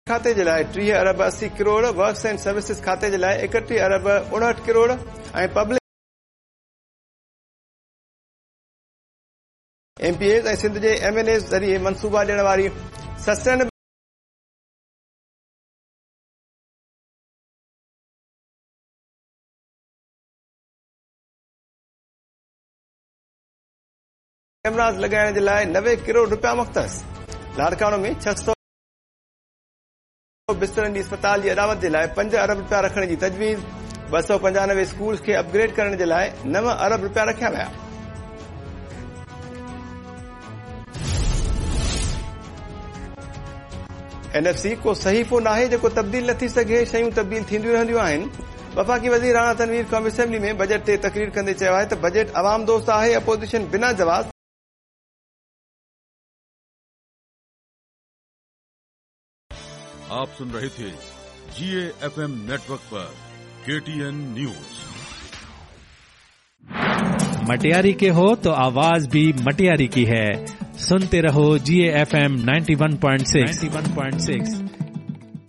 کاتي جي لاء 30 ارب 80 ڪروڙ، ورڪس اينڊ سروسز کاتي جي لاء 31 ارب 59 crore ۽ public M P As ۽ Sindh جي ايم اين ايز ذريعي منصوبا ڏيڻ واري سسٽينبل ڪئميراز لڳائڻ جي لاء 90 ڪروڙ رپيا مختص. لاڙڪاڻو ۾ 600 بسترن جي اسپتال جي اڏاوت جي لاء 5 ارب رپيا رکڻ جي تجويز، 295 اسڪولز کي اپ گريڊ ڪرڻ جي لاء 9 ارب رپيا رکيا ويا. اين ايف سي ڪو صحيفو ناهي جيڪو تبديل نه ٿي سگهي، شيون تبديل ٿينديون رهنديون آهن. وفاقي وزير راڻا تنوير قومي اسيمبلي ۾ بجيٽ تي تقرير ڪندي چيو آهي ته بجيٽ عوام دوست آهي، اپوزيشن بنا جواز आप सुन रहे थे जीए एफएम नेटवर्क पर केटीएन न्यूज। मटियारी के हो तो आवाज भी मटियारी की है। सुनते रहो जी एफ एम 91.6 91.6।